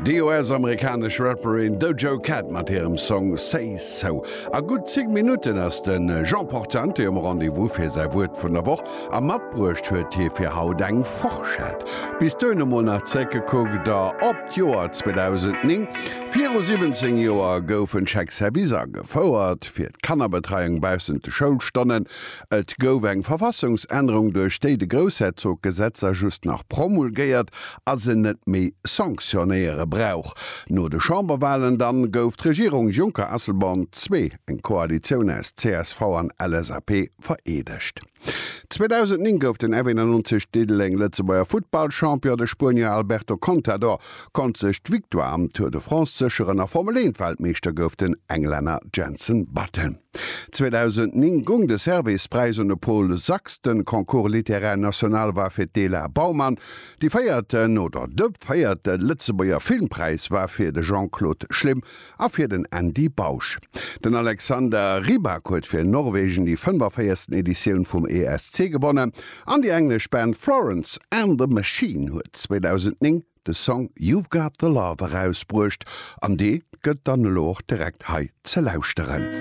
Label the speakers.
Speaker 1: Déi US-amerikanesch Rapperin Doja Cat mat hirem Song Say So. A gutt 10 Minutten ass de Jean Portante um Rendez-vous fir säi Wuert vun der Woch a matbruecht huet hie fir haut eng Forschett. Bis dohin emol nach zréckgekuckt op d'Joer 2009. Viru 17 Joer goufen d'Chèques-services agefouert fir d'Kannerbetreiung baussent de Schoulstonnen. Et gouf eng Verfassungsännerung, duerch déi de Groussherzog Gesetzer just nach promulgéiert a se net méi sanctionnéiere brauch. No de Chamberwahlen dann gouf d'Regierung Juncker-Asselborn ii, eng Koalitioun aus csv an LSAP, vereedegt. 2009 gouf den F91 Diddeleng Lëtzebuerger Futtballchampion. De Spuenier Alberto Contador konnt sech d'Victoire am Tour de France sécheren a Formel 1 Weltmeeschter gouf den Englänner Jenson Button. 2009 gung de Servais-Präis un de Paul Sax, de Concours littéraire national war fir d'Ela Baumann, déi véierten oder de véierte Lëtzebuerger Filmpräis war fir de Jean-Claude Schlim a fir den Andy Bausch. Den Alexander Rybak huet fir Norwegen déi 45. Editioun vum ESC gewonnen an déi englesch Band Florence and the Machine huet 2009 de Song You've Got The Love erausbruecht an dee gëtt dann elo och direkt hei ze lauschteren.